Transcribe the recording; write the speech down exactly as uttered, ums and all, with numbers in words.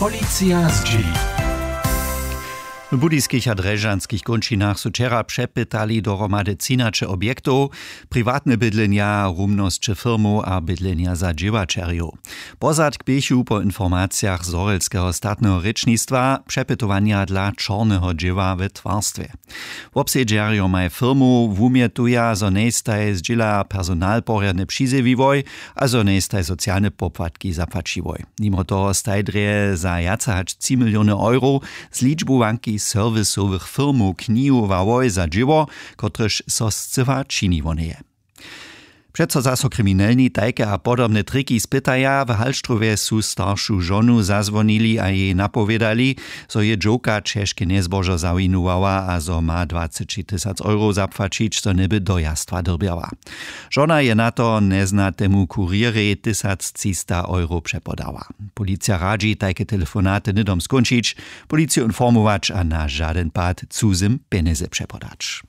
Policija zdźěli. W budyskich a drježdźanskich kónčinach su wčera přepytali dohromady třinaće objektow, priwatne bydlenja, rumnosće firmow a bydlenja za dźěłaćerjow. Pozadk běchu po informacijach zhorjelskeho statneho rěčnistwa přepytowanja dla čorneho dźěła we twarstwje. Wobsedźerjo maj firmow wumjetuja, zo njejstaj zdźěla personal porjadnje přizjewiłoj a zo njejstaj socialne popłatki zapłaćiłoj. Nimo toho staj drje za wjace hač tři miliony euro z ličbowanki serwisowych firmow knihowało za dźěło, kotrež so scyła činiło njeje. Přeco zaso kriminelni tajke a podobne triki spytaja. W Hallstrowje su staršu žonu zazwonili a jej napowědali, zo je dźowka ćežke njezbožo zawinowała a zo ma dwaceći tysac euro zapłaćić, zo njeby do jastwa dyrbjała. Žona je na to njeznatemu kurjerej tysac třista euro přepodała. Policija radźi tajke telefonaty hnydom skónčić, policiju informować a na žadyn pad cuzym pjenjezy přepodać.